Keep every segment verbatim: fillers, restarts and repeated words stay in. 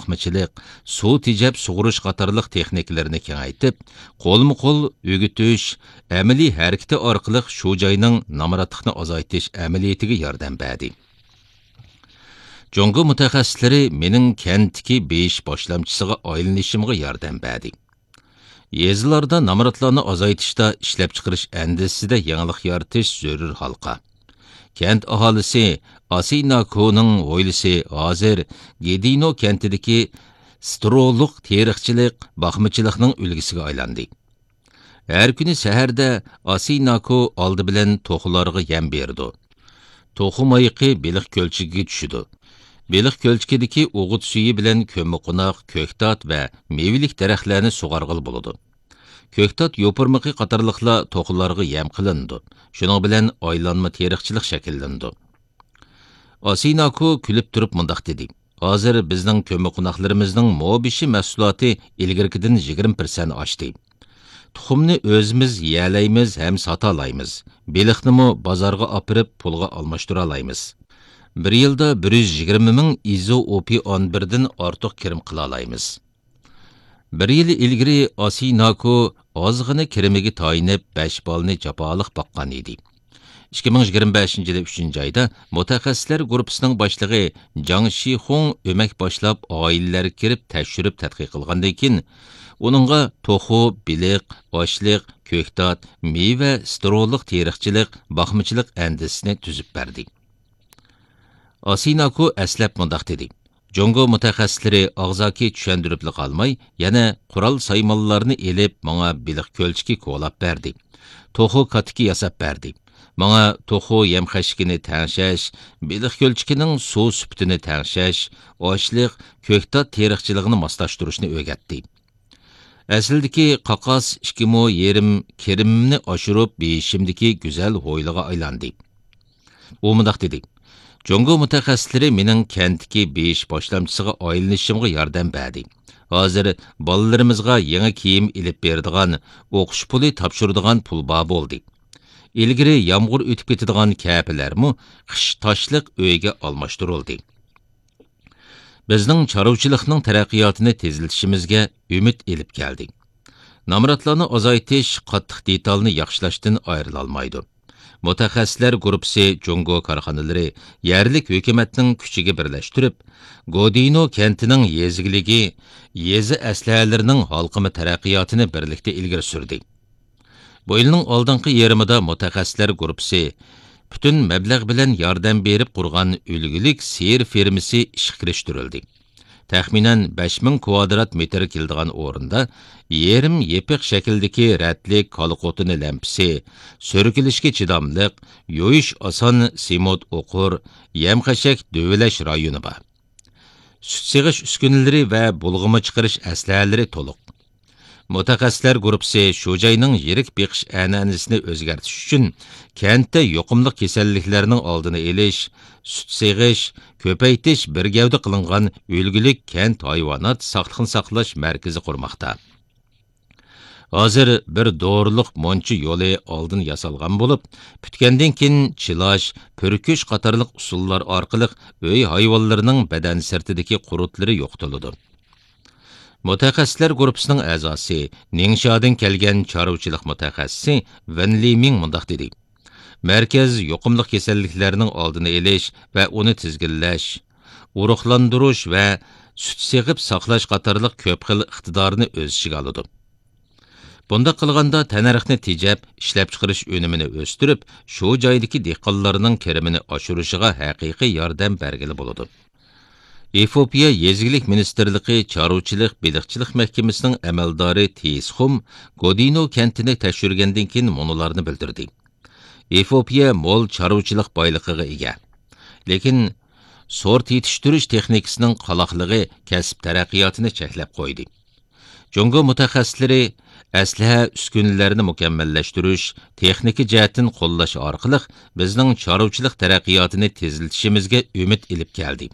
باقمىچىلىق، سۇ تېجەپ سۇغۇرۇش قاتارلىق تېخنىكىلىرىنى كېڭەيتىپ، قولمۇ قول ئۆگىتىش، ئەمەلىي ھەرىكىتى ئارقىلىق شۇ جاينىڭ نامراتلىقنى ئازايتىش ئەمەلىيىتىگە ياردەم بەردى. جۇڭگو مۇتەخەسسىسلىرى مېنىڭ كەنتتىكى بېيىش باشلامچىسىغا ئايلىنىشىمغا ياردەم بەردى. يېزىلاردا نامراتلارنى ئازايتىشتا ئىشلەپچىقىرىش ئەندىزىسىدە يېڭىلىق يارىتىش زۆرۈر ھالقا. كەنت ئاھالىسى ئاسىناكونىڭ ھويلىسى ھازىر گېدىنو كەنتىدىكى سترولۇق تېرىقچىلىق، باقمىچىلىقنىڭ ئۈلگىسىگە ئايلاندى. ھەر كۈنى سەھەردە ئاسىناكو ئالدى بىلەن توخۇلارغا يەم بېرىدۇ. توخۇ مايىقى بېلىق كۆلچىكىگە چۈشىدۇ. بېلىق كۆلچىكىدىكى ئوغۇت سۈيى بىلەن كۆممىقوناق، كۆكتات ۋە مېۋىلىك دەرەخلەرنى سۇغارغىلى بولىدۇ. كۆكتات يوپۇرمىقى قاتارلىقلار توخۇلارغا يەم قىلىنىدۇ. شۇنىڭ بىلەن ئايلانما تېرىقچىلىق شەكىللىنىدۇ. ئاسىناكو كۈلۈپ تۇرۇپ مۇنداق دېدى: «ھازىر بىزنىڭ كۆممىقوناقلىرىمىزنىڭ مو بېشى مەھسۇلاتى ئىلگىرىكىدىن يىگىرمە پىرسەنت ئاشتى. تۇخۇمنى ئۆزىمىز يېيەلەيمىز ھەم ساتالايمىز. بېلىقنىمۇ بازارغا ئاپىرىپ پۇلغا ئالماشتۇرالايمىز. بىر يىلدا بىر يۈز يىگىرمە مىڭ ئىزوئوپىئان بىردىن ئارتۇق كىرىم قىلالايمىز.» بىر يىل ئىلگىرى ئاسىناكو ئازغىنە كىرىمىگە تايىنىپ، بەش بالىنى جاپالىق باققان ئىدى. ئىككى مىڭ يىگىرمە بەشىنچى يىلى ئۈچىنچى ئايدا مۇتەخەسسىسلەر گۇرۇپپىسىنىڭ باشلىقى جاڭ شىخۇڭ ئۆمەك باشلاپ، ئائىلىلەرگە كىرىپ تەكشۈرۈپ تەتقىق قىلغاندىن كېيىن، ئۇنىڭغا توخۇ، بېلىق، ئاشلىق، كۆكتات، مېۋە، سترولۇق تېرىقچىلىق، باقمىچىلىق ئەندىزىسىنى تۈزۈپ بەردى. ئاسىناكو ئەسلەپ مۇنداق دېدى: «جۇڭگو مۇتەخەسسىسلىرى ئاغزاكى چۈشەندۈرۈپلا قالماي، يەنە قورال سايمانلارنى ئېلىپ، ماڭا بېلىق كۆلچىكى كولاپ بەردى. توخۇ كاتىكى ياساپ بەردى. ماڭا توخۇ يەم خەشىكىنى تەڭشەش، بېلىق كۆلچىكىنىڭ سۇ سۈپىتىنى تەڭشەش، ئاشلىق، كۆكتات تېرىقچىلىقىنى ماسلاشتۇرۇشنى ئۆگەتتى. ئەسلىدىكى قاقاس ئىككى مو يېرىم كىرىمىمنى ئاشۇرۇپ، بېيىشىمدىكى گۈزەل ھويلىغا ئايلاندى.» ئۇ مۇنداق دېدى: «جۇڭگو مۇتەخەسسىسلىرى مېنىڭ كەنتتىكى بېيىش باشلامچىسىغا ئايلىنىشىمغا ياردەم بەردى. ھازىر بالىلىرىمىزغا يېڭى كىيىم ئېلىپ بېرىدىغان، ئوقۇش پۇلى تاپشۇرىدىغان پۇل بار بولدى. ئىلگىرى يامغۇر ئۆتۈپ كېتىدىغان كەپىلەرمۇ قىش تاشلىق ئۆيگە ئالماشتۇرۇلدى.» بىزنىڭ چارۋىچىلىقنىڭ تەرەققىياتىنى تېزلىتىشىمىزگە ئۈمىد ئېلىپ كەلدى. نامراتلارنى ئازايتىش قاتتىق دېتالنى ياخشىلاشتىن ئايرىلالمايدۇ. مۇتەخەسسىسلەر گۇرۇپپىسى جۇڭگو كارخانىلىرى يەرلىك ھۆكۈمەتنىڭ كۈچىگە بىرلەشتۈرۈپ، گودىنو كەنتىنىڭ يېزا ئىگىلىكى، يېزا ئەسلىھەلىرىنىڭ ھالقىما تەرەققىياتىنى بىرلىكتە ئىلگىرى سۈردى. بۇ يىلنىڭ ئالدىنقى يېرىمىدا مۇتەخەسسىسلەر گۇرۇپپىسى پۈتۈن مەبلەغ بىلەن ياردەم بېرىپ قۇرغان ئۈلگىلىك سىيىر فېرمىسى ئىشقا كىرىشتۈرۈلدى. تەخمىنەن بەش مىڭ كۋادرات مېتىر كېلىدىغان ئورۇندا يېرىم يېپىق شەكىلدىكى رەتلىك كالا قوتۇنى لەمپىسى، سۈركىلىشكە چىداملىق، يۇيۇش ئاسان سېمونت ئوقۇر، يەم-خەشەك دۆۋىلەش رايونى بار. سۈت سېغىش ئۈسكۈنىلىرى ۋە بۇلغىما چىقىرىش ئەسلىھەلىرى تولۇق. مۇتەخەسسىسلەر گۇرۇپپىسى شۇ جاينىڭ يىرىك بېقىش ئەنئەنىسىنى ئۆزگەرتىش ئۈچۈن كەنتتە يۇقۇملۇق كېسەللىكلەرنىڭ ئالدىنى ئېلىش، سۈت سېغىش، كۆپەيتىش بىر گەۋدە قىلىنغان ئۈلگىلىك كەنت ھايۋانات ساقلىقنى ساقلاش مەركىزى قۇرماقتا. ھازىر بىر دورىلىق مۇنچا يولى ئالدىن ياسالغان بولۇپ، پۈتكەندىن كېيىن چىلاش، پۈركۈش قاتارلىق ئۇسۇللار ئارقىلىق ئۆي ھايۋانلىرىنىڭ بەدەن سىرتىدىكى قۇرتلىرى يوقىتىلىدۇ. مۇتەخەسسىسلەر گۇرۇپپىسىنىڭ ئەزاسى، نىڭشادىن كەلگەن چارۋىچىلىق مۇتەخەسسىسى ۋېن لىمىڭ مۇنداق دېدى: «مەركەز يۇقۇملۇق كېسەللىكلەرنىڭ ئالدىنى ئېلىش ۋە ئۇنى تىزگىنلەش، ئۇرۇقلاندۇرۇش ۋە سۈت سېغىپ ساقلاش قاتارلىق كۆپ خىل ئىقتىدارنى ئۆز ئىچىگە ئالىدۇ. بۇنداق قىلغاندا، تەننەرخنى تېجەپ، ئىشلەپچىقىرىش ئۈنۈمىنى ئۆستۈرۈپ، شۇ جايدىكى دېھقانلارنىڭ كىرىمىنى ئاشۇرۇشىغا ھەقىقىي ياردەم بەرگىلى بولىدۇ.» ئېفىئوپىيە يېزا ئىگىلىك مىنىستىرلىقى چارۋىچىلىق بېلىقچىلىق مەھكىمىسىنىڭ ئەمەلدارى تېيىس خۇم گودىنو كەنتىنى تەكشۈرگەندىن كېيىن مۇنۇلارنى بىلدۈردى: «ئېفىئوپىيە مول چارۋىچىلىق بايلىقىغا ئىگە. لېكىن سورت يېتىشتۈرۈش تېخنىكىسىنىڭ قالاقلىقى كەسىپ تەرەققىياتىنى چەكلەپ قويدى. جۇڭگو مۇتەخەسسىسلىرى ئەسلىھە ئۈسكۈنىلەرنى مۇكەممەللەشتۈرۈش، تېخنىكا جەھەتتىن قوللاش ئارقىلىق بىزنىڭ چارۋىچىلىق تەرەققىياتىنى تېزلىتىشىمىزگە ئۈمىد ئېلىپ كەلدى.»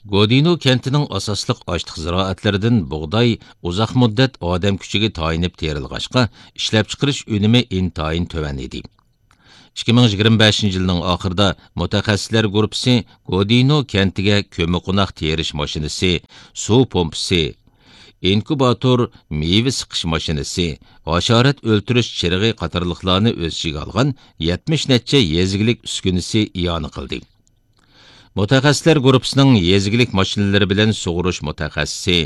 گودىنو كەنتىنىڭ ئاساسلىق ئاشلىق زىرائەتلىرىدىن بۇغداي ئۇزاق مۇددەت ئادەم كۈچىگە تايىنىپ تېرىلغاچقا، ئىشلەپچىقىرىش ئۈنۈمى ئىنتايىن تۆۋەن ئىدى. ئىككى مىڭ يىگىرمە بەشىنچى يىلنىڭ ئاخىرىدا مۇتەخەسسىسلەر گۇرۇپپىسى گودىنو كەنتىگە كۆممىقوناق تېرىش ماشىنىسى، سۇ پومپىسى، ئىنكۇباتور، مېۋە سىقىش ماشىنىسى، ھاشارات ئۆلتۈرۈش چىرىغى قاتارلىقلارنى ئۆز ئىچىگە ئالغان يەتمىش نەچچە يېزا ئىگىلىك ئۈسكۈنىسى ئىئانە قىلدى. مۇتەخەسسىسلەر گۇرۇپپىسىنىڭ يېزا ئىگىلىك ماشىنىلىرى بىلەن سۇغۇرۇش مۇتەخەسسىسى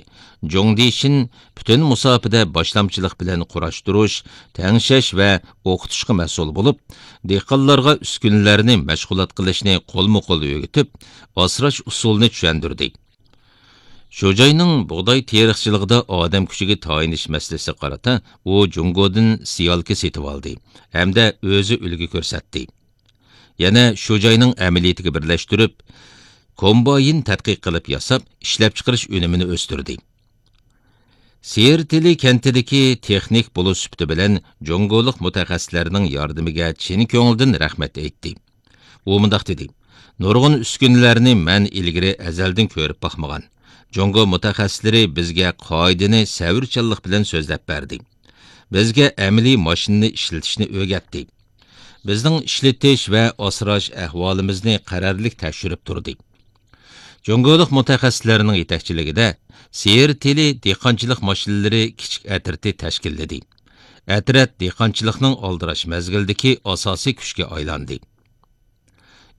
جۇڭ دىشىن پۈتۈن مۇساپىدە باشلامچىلىق بىلەن قۇراشتۇرۇش، تەڭشەش ۋە ئوقۇتۇشقا مەسئۇل بولۇپ، دېھقانلارغا ئۈسكۈنىلەرنى مەشغۇلات قىلىشنى قولمۇ قول ئۆگىتىپ، ئاسراش ئۇسۇلىنى چۈشەندۈردى. شۇ جاينىڭ بۇغداي تېرىقچىلىقىدا ئادەم كۈچىگە تايىنىش مەسىلىسىگە قارىتا ئۇ جۇڭگودىن سىيالكا سېتىۋالدى ھەمدە ئۆزى ئۈلگە كۆرسەتتى. يەنە شۇ جاينىڭ ئەمەلىيىتىگە بىرلەشتۈرۈپ، كومباين تەتقىق قىلىپ ياساپ، ئىشلەپچىقىرىش ئۈنۈمىنى ئۆستۈردى. سېرتىلى كەنتىدىكى تېخنىك بولۇش سۈپىتى بىلەن جۇڭگولۇق مۇتەخەسسىسلەرنىڭ ياردىمىگە چىن كۆڭلىدىن رەھمەت ئېيتتى. ئۇ مۇنداق دېدى: «نۇرغۇن ئۈسكۈنىلەرنى مەن ئىلگىرى ئەزەلدىن كۆرۈپ باقمىغان. جۇڭگو مۇتەخەسسىسلىرى بىزگە قائىدىنى سەۋرچانلىق بىلەن سۆزلەپ بەردى. بىزگە ئەمەلىي ماشىنىنى ئىشلىتىشنى ئۆگەتتى. بىزنىڭ ئىشلىتىش ۋە ئاسراش ئەھۋالىمىزنى قەرەللىك تەكشۈرۈپ تۇردى.» جۇڭگولۇق مۇتەخەسسىسلەرنىڭ يېتەكچىلىكىدە سېرتىلى دېھقانچىلىق ماشىنىلىرى كىچىك ئەترىتى تەشكىللىدى. ئەترەت دېھقانچىلىقنىڭ ئالدىراش مەزگىلدىكى ئاساسىي كۈچكە ئايلاندى.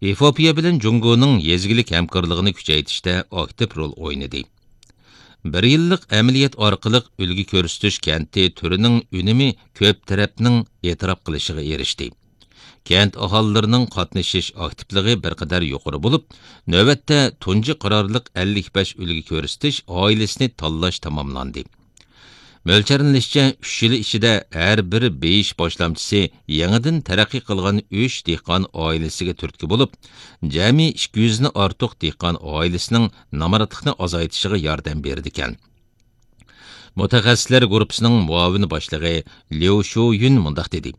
ئېفىئوپىيە بىلەن جۇڭگونىڭ يېزا ئىگىلىك ھەمكارلىقىنى كۈچەيتىشتە ئاكتىپ رول ئوينىدى. بىر يىللىق ئەمەلىيەت ئارقىلىق ئۈلگە كۆرسىتىش كەنتى تۈرىنىڭ ئۈنۈمى كۆپ تەرەپنىڭ ئېتىراپ قىلىشىغا ئېرىشتى. كەنت ئاھالىلىرىنىڭ قاتنىشىش ئاكتىپلىقى بىر قەدەر يۇقىرى بولۇپ، نۆۋەتتە تۇنجى قارارلىق ئەللىك بەش ئۈلگە كۆرسىتىش ئائىلىسىنى تاللاش تاماملاندى. مۆلچەرلىنىشىچە، ئۈچ يىل ئىچىدە ھەر بىر بېيىش باشلامچىسى يېڭىدىن تەرەققىي قىلغان ئۈچ دېھقان ئائىلىسىگە تۈرتكە بولۇپ، جەمئىي ئىككى يۈزدىن ئارتۇق دېھقان ئائىلىسىنىڭ نامراتلىقنى ئازايتىشىغا ياردەم بېرىدىكەن. مۇتەخەسسىسلەر گۇرۇپپىسىنىڭ مۇئاۋىن باشلىقى ليۇ شۇيۈن مۇنداق دېدى: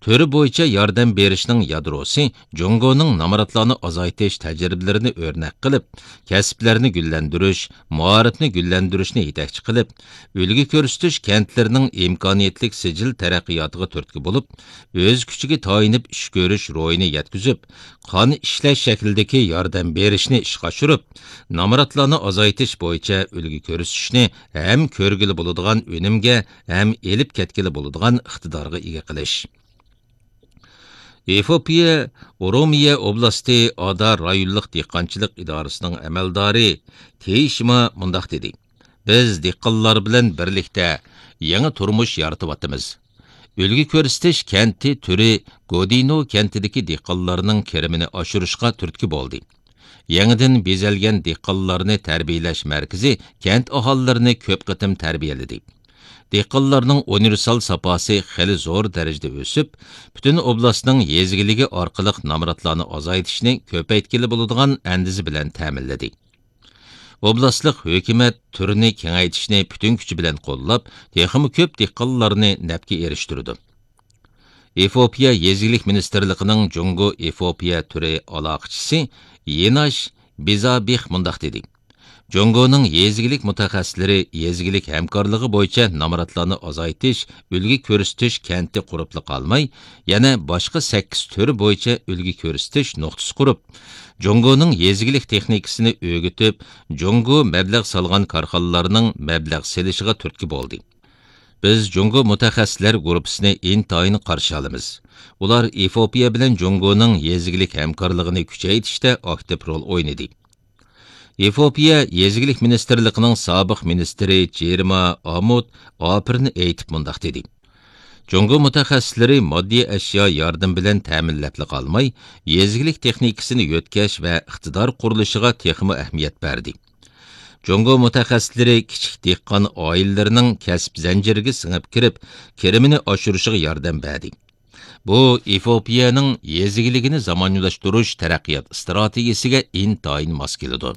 «تۈر بويىچە ياردەم بېرىشنىڭ يادروسى جۇڭگونىڭ نامراتلارنى ئازايتىش تەجرىبىلىرىنى ئۆرنەك قىلىپ، كەسىپلەرنى گۈللەندۈرۈش، مائارىپنى گۈللەندۈرۈشنى يېتەكچى قىلىپ، ئۈلگە كۆرسىتىش كەنتلىرىنىڭ ئىمكانىيەتلىك سىجىل تەرەققىياتىغا تۈرتكە بولۇپ، ئۆز كۈچىگە تايىنىپ ئىش كۆرۈش روھىنى يەتكۈزۈپ، قان ئىشلەش شەكلىدىكى ياردەم بېرىشنى ئىشقا ئاشۇرۇپ، نامراتلارنى ئازايتىش بويىچە ئۈلگە كۆرسىتىشنى ھەم كۆرگىلى بولىدىغان ئۈنۈمگە ھەم ئېلىپ كەتكىلى بولىدىغان ئىقتىدارغا ئىگە قىلىش.» ئېفىئوپىيە ئورومىيە ئوبلاستى ئادا رايونلۇق دېھقانچىلىق ئىدارىسىنىڭ ئەمەلدارى تېيىشىما مۇنداق دېدى: «بىز دېھقانلار بىلەن بىرلىكتە يېڭى تۇرمۇش يارىتىۋاتىمىز. ئۈلگە كۆرسىتىش كەنتى تۈرى گودىنو كەنتىدىكى دېھقانلارنىڭ كىرىمىنى ئاشۇرۇشقا تۈرتكە بولدى. يېڭىدىن بېزەلگەن دېھقانلارنى تەربىيەلەش مەركىزى كەنت ئاھالىلىرىنى كۆپ قېتىم تەربىيەلىدى. دېھقانلارنىڭ ئۇنىۋېرسال ساپاسى خېلى زور دەرىجىدە ئۆسۈپ، پۈتۈن ئوبلاستنىڭ يېزا ئىگىلىكى ئارقىلىق نامراتلارنى ئازايتىشنى كۆپەيتكىلى بولىدىغان ئەندىزە بىلەن تەمىنلىدى. ئوبلاستلىق ھۆكۈمەت تۈرنى كېڭەيتىشنى پۈتۈن كۈچى بىلەن قوللاپ، تېخىمۇ كۆپ دېھقانلارنى نەپكە ئېرىشتۈرىدۇ.» ئېفىئوپىيە يېزا ئىگىلىك مىنىستىرلىقىنىڭ جۇڭگو ئېفىئوپىيە تۈرى ئالاقىچىسى يېناش بىزابىخ مۇنداق دېدى: «جۇڭگونىڭ يېزا ئىگىلىك مۇتەخەسسىسلىرى يېزا ئىگىلىك ھەمكارلىقى بويىچە نامراتلارنى ئازايتىش، ئۈلگە كۆرسىتىش كەنتى قۇرۇپلا قالماي، يەنە باشقا سەككىز تۈر بويىچە ئۈلگە كۆرسىتىش نۇقتىسى قۇرۇپ، جۇڭگونىڭ يېزا ئىگىلىك تېخنىكىسىنى ئۆگىتىپ، جۇڭگو مەبلەغ سالغان كارخانىلارنىڭ مەبلەغ سېلىشىغا تۈرتكە بولدى. بىز جۇڭگو مۇتەخەسسىسلەر گۇرۇپپىسىنى ئىنتايىن قارشى ئالىمىز. ئۇلار ئېفىئوپىيە بىلەن جۇڭگونىڭ يېزا ئىگىلىك ھەمكارلىقىنى كۈچەيتىشتە ئاكتىپ رول ئوينىدى.» ئېفىئوپىيە يېزا ئىگىلىك مىنىستىرلىقىنىڭ سابىق مىنىستىرى جېرما ئامۇد ئاپىرىن ئېيتىپ مۇنداق دېدى: «جۇڭگو مۇتەخەسسىسلىرى ماددىي ئەشيا ياردىمى بىلەن تەمىنلەپلا قالماي، يېزا ئىگىلىك تېخنىكىسىنى يۆتكەش ۋە ئىقتىدار قۇرۇلۇشىغا تېخىمۇ ئەھمىيەت بەردى. جۇڭگو مۇتەخەسسىسلىرى كىچىك دېھقان ئائىلىلىرىنىڭ كەسىپ زەنجىرىگە سىڭىپ كىرىپ، كىرىمىنى ئاشۇرۇشىغا ياردەم بەردى. بۇ ئېفىئوپىيەنىڭ يېزا ئىگىلىكىنى زامانىۋىلاشتۇرۇش تەرەققىيات ئىستراتېگىيىسىگە ئىنتايىن ماس كېلىدۇ.»